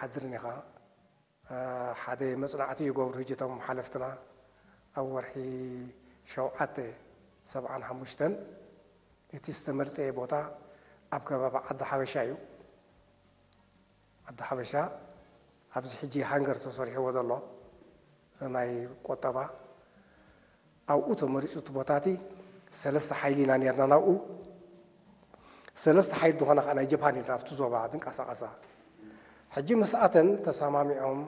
ኣይሓድርን ኢኻ። ሓደ መጽናዕቲ ይገብሩ ሕጂ እቶም ሓለፍትና ኣብ ወርሒ ሸውዓተ ሰብዓን ሓሙሽተን እቲ ዝተመርጸየ ቦታ ኣብ ከባቢ ዓዲ ሓበሻ እዩ። ዓዲ ሓበሻ ኣብዚ ሕጂ ሃንገር ተሰሪሕዎ ዘሎ ናይ ቆጠባ ኣብኡ ተመሪጹ እቲ ቦታ እቲ ሰለስተ ሓይሊ ኢና ነርና ናብኡ። ሰለስተ ሓይሊ ዝኾነ ከዓ ናይ ጀፓን እዩ ናብቲ ዞባ ዝንቀሳቐሳ። ሕጂ ምስኣተን ተሰማሚዖም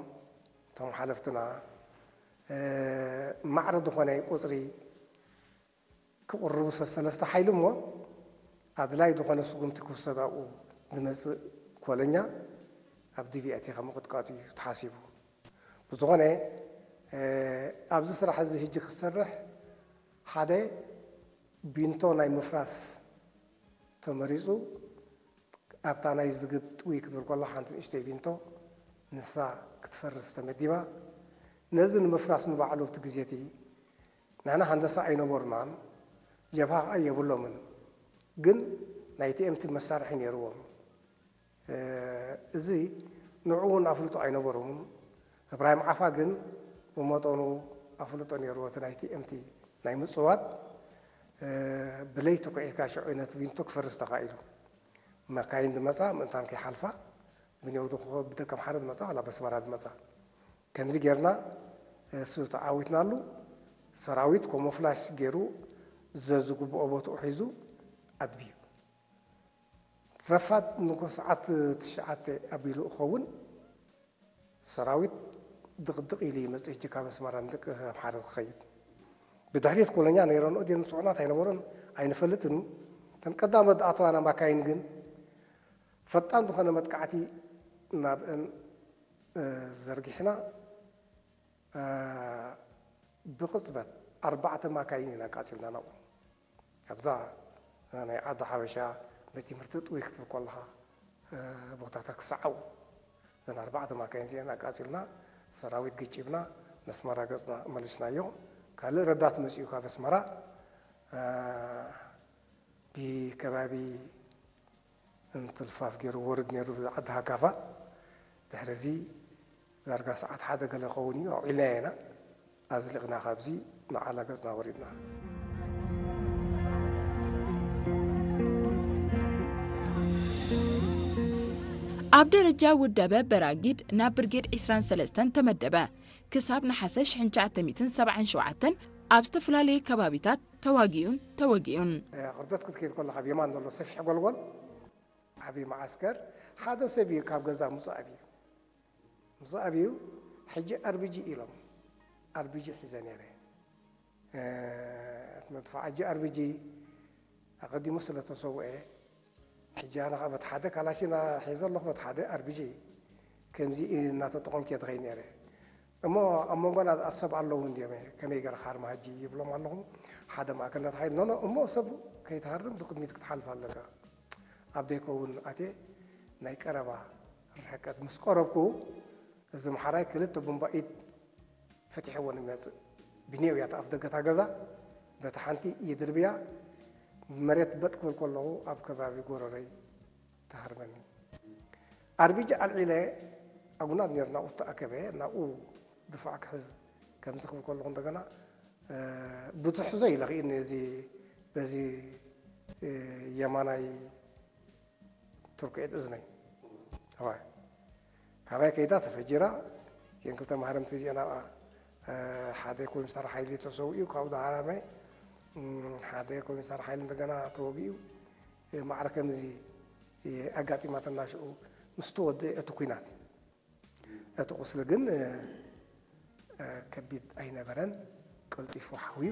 እቶም ሓለፍትና ማዕረ ዝኾነ ቁፅሪ ክቕርቡ ሰሰለስተ ሓይሊ እሞ ኣድላይ ዝኾነ ስጉምቲ ክውሰድ ኣብኡ ዝመፅእ ኮለኛ ኣብ ዲቪ ኣቲኻ ምቕጥቃጡ እዩ ተሓሲቡ። ብዝኾነ ኣብዚ ስራሕ እዚ ሕጂ ክሰርሕ ሓደ ቢንቶ ናይ ምፍራስ ተመሪፁ ኣብታ ናይ ዝግብ ጥውይ ክትብል ከሎ ሓንቲ ንእሽተይ ቢንቶ ንሳ ክትፈርስ ተመዲባ። ነዚ ንምፍራስ ንባዕሉ ኣብቲ ግዜ እቲ ንሕና ሃንደሳ ኣይነበሩናን፣ ጀብሃ ኸዓ የብሎምን። ግን ናይ ቲ ኤም ቲ መሳርሒ ነይርዎም። እዚ ንዕኡ እውን ኣፍልጦ ኣይነበሮምን። እብራሂም ዓፋ ግን ብመጠኑ ኣፍልጦ ነይርዎ እቲ ናይ ቲ ኤም ቲ ናይ ምፅዋት። ብለይቲ ኩዒትካ ሽዑ ነቲ ቢንቶ ክፈርስ ተኻኢሉ። መካይን ዝመፃ ምእንታን ከይሓልፋ ብኔው ብደቀምሓረ ዝመፃ ዋላ በስመራ ዝመፃ ከምዚ ጌርና እሱ ተዓዊትናሉ። ሰራዊት ኮሞፍላሽ ገይሩ ዘዝግብኦ ቦትኡ ሒዙ ኣድብዩ። ረፋድ ንጎ ሰዓት ትሽዓተ ኣቢሉ እኸውን ሰራዊት ድቕድቕ ኢሉ ይመፅእ። ሕጂ ካብ ኣስመራ ንደቂ ኣምሓረ ክኸይድ ብድሕሪት ኮለኛ ነይረንኦ ድየን ንፅዑናት ኣይነበሮን ኣይንፈልጥን። እተን ቀዳሞት ዝኣተዋና ማካይን ግን ፈጣን ዝኾነ መጥቃዕቲ ናብአን ዘርጊሕና ብቕፅበት ኣርባዕተ ማካይን ኢና ኣቃፂልና ናብኡ። ኣብዛ ናይ ዓዲ ሓበሻ ቤት ትምህርቲ ጥውይ ክትብል ከለኻ ቦታታት ክሰዓቡ እዘን ኣርባዕተ ማካይን እዚአን ኣቃፂልና ሰራዊት ገጭብና መስመራ ገፅና መሊስናዮ። ካልእ ረዳት መፂኡ ካብ ኣስመራ ብከባቢ እንትልፋፍ ገይሩ ወርድ ነይሩ ዓዲ ሃካፋ። ድሕሪ እዚ ዳርጋ ሰዓት ሓደ ገለ ክኸውን እዩ ኣውዒልናዮ ኢና። ኣዝሊቕና ካብዚ ንዓላ ገፅና ወሪድና። ኣብ ደረጃ ውደበ በራጊድ ናብ ብርጌድ ዕስራን ሰለስተን ተመደበ። ክሳብ ነሓሰ ሽሕን ትሽዓተ ሚእትን ሰብዓን ሸውዓተን ኣብ ዝተፈላለዩ ከባቢታት ተዋጊኡን ተወጊኡን። ቅርደት ክትከይድ ከለኻ ብየማን ዘሎ ሰፊሕ ጎልጎል ዓብዪ መዓስከር ሓደ ሰብ እዩ ካብ ገዛ ምፁ ኣብዩ። ምፁ ኣብዩ ሕጂ ኣርቢጂ ኢሎም ኣርቢጂ ሒዘ ነይረ። መድፋዕ ሕጂ ኣርቢጂ ኣቐዲሙ ስለ ተሰውአ ሕጂ ኣነ ከዓ በቲ ሓደ ካላሽና ሒዘ ኣለኹ በቲ ሓደ ኣርቢጂ ከምዚ እናተጠቐምኩ እየ ዝኸይድ ነይረ። እሞ ኣብ መንጎና ዝኣሰብ ኣለዉ እንድዮም ከመይ ገርካ ሃርማ ሕጂ ይብሎም ኣለኹ። ሓደ ማእከል ነቲ ሓይሊ ኖኖ እሞ ሰብ ከይትሃርም ብቅድሚት ክትሓልፍ ኣለካ። ኣብ ዘይከውን ኣትየ ናይ ቀረባ ርሕቀት ምስ ቀረብኩ እዚ ምሓራይ ክልተ ቡምባ ኢድ ፈቲሕዎ ንመፅእ ብኔው እያ ኣፍ ደገታ ገዛ በቲ ሓንቲ ይድርብያ መሬት በጥ ክብል ከለኹ ኣብ ከባቢ ጎረረይ ተሃርመኒ። ኣርቢጂ ኣልዒለ ኣጉናት ነይሩ ናብኡ ተኣከበ ናብኡ ድፋዕ ክሕዝ ከምዚ ክብል ከለኹ እንደገና ብትሕዞ ኢለ ክኢኒ እዚ በዚ የማናይ ትርኩዒት እዝነይ ኣዋይ ካባይ ከይዳ ተፈጂራ። እተን ክልተ ማህረምቲ እዚአን ኣብኣ ሓደ ኮሚሳር ሓይሊ ተሰዊኡ ካብኡ ዳሃራመ ሓደ ኮሚሳር ሓይሊ እንደገና ተወጊኡ። ማዕረ ከምዚ ኣጋጢማትና ሽዑ ምስ ተወድአ እቲ ኲናት እቲ ቁስሊ ግን ከቢድ ኣይነበረን፣ ቀልጢፉ ሓውዩ።